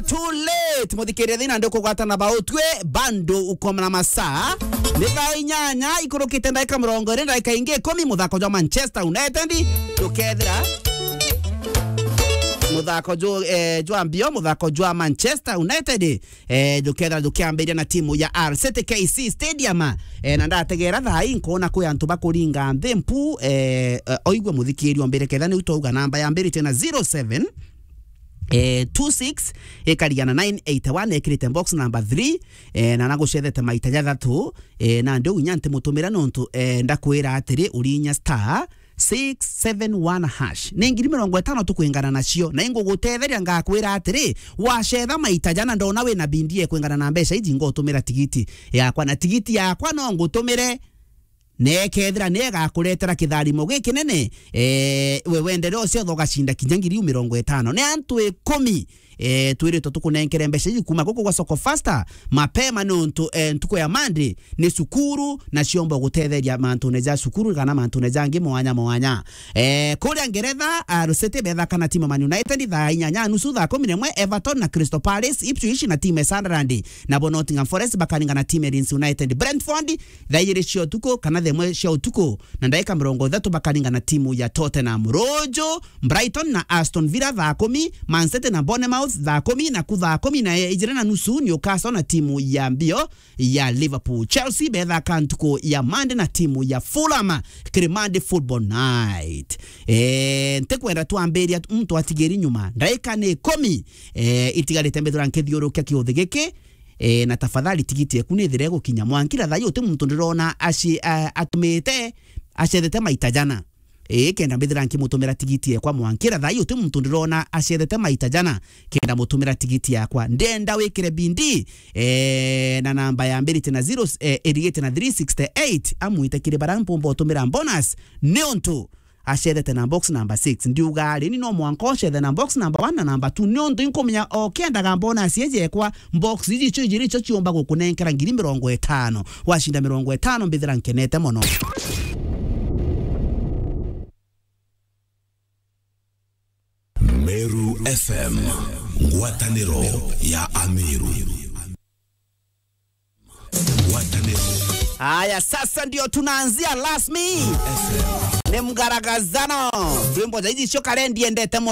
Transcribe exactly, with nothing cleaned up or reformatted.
Too late. Muthikiriria, thina ndikugwata na bautwe, bando ukoma na masaa. Ni thaa inyanya ikurukite ndagika mirongo iri, ndagika ingi ikumi, muthako jwa Manchester United jukethira. Muthako ju, eh, jwa mbio, muthako jwa Manchester United, eh, jukethira jukiambiria na timu ya Al City K C Stadium. Eh, na ndategera thaa ii nkoona kwi antu bakuringa nthi mpu, eh, eh, oigwe muthikiriria ombire ketha niu twauga namba yambirite na zero seven, eh, two six, ikarigana nine eight one, ekirite box number three, eh, na nagucethete maita jathatu, eh, na ndio inya ntimutumira nontu, eh, ndakwira atiri urinya star six seven one hash. Ni ngiri mirongo itano tukwingana nacio, na ingugutetheria ngakwira atiri, wacetha maita jana ndona wina bindie kwingana na mbeca iji ngotumira tigiti yakwa, na tigiti yakwa no ngutumire nekethira ni egakuretera kitharimo gikinene, eh, we wendere ucio ugacinda kinya ngiri mirongo itano. Ni antu ikumi, eh, twiritwe tukunenkere mbeca iji kuma guku gwa Soko Faster mapema, nontu, eh, ntuku ya Monday ni cukuru, na ciomba gutetheria mantune ja cukuru kana mantune jangi mwanya mwanya. Eh, kuria Ngeretha, ah, Al City bethaka na timu ya Man United thaa inyanya nusu, thaa kumi na imwe Everton na Crystal Palace, Ipswich na timu ya Sunderland, nabo Nottingham Forest bakaringana na timu ya Leeds United. Brentford thaa igiri cia utuku kana thaa imwe cia utuku na ndagika mirongo ithatu bakaringana na timu ya Tottenham. Ruju, Brighton na Aston Villa thaa kumi, Man City na Bournemouth thaa kumi, naku thaa kumi na ijiri na nusu Newcastle na timu ya mbio ya Liverpool. Chelsea bethaka ntuku ya Monday na timu ya Fulham kiri Monday Football Night. Eh, ntikwenda twambiria muntu atigiri nyuma. Ndaika ni ikumi, eh, itigarite mbithira nkithiurukia kiuthi giki, eh, na tafadhali tigiti eku nithire gukinya mwankira thaa ii uti muntu ndirona aci-, a-, atumite acethete maita jana. Ii, kenda mbithira nkimutumira tigiti ekwa mwankira thaa ii uti muntu ndirona acethete maita jana, kenda mutumira tigiti yakwa. Ndenda wikire bindi, eh, na namba yambirite na zero, eh, irigite na three sixty eight, amwite kiri bara mpumba utumira bonus, niuntu acethete na box number six. Ndiuga ari ni no mwanka ucethe na box number one na number two, niuntu inkumenya o kendaga bonus iji ekwa, box iji cio ijiri cio ciumba gukunenkera ngiri mirongo itano. Wacinda mirongo itano, mbithira nkenete mono. Meru F M, ngwataniro ya Ameru. Ngwataniro. Haya, sasa ndio tunaanzia rasmi. F M. Ni mgaragazano. Rwimbo ja iji cio karendi endete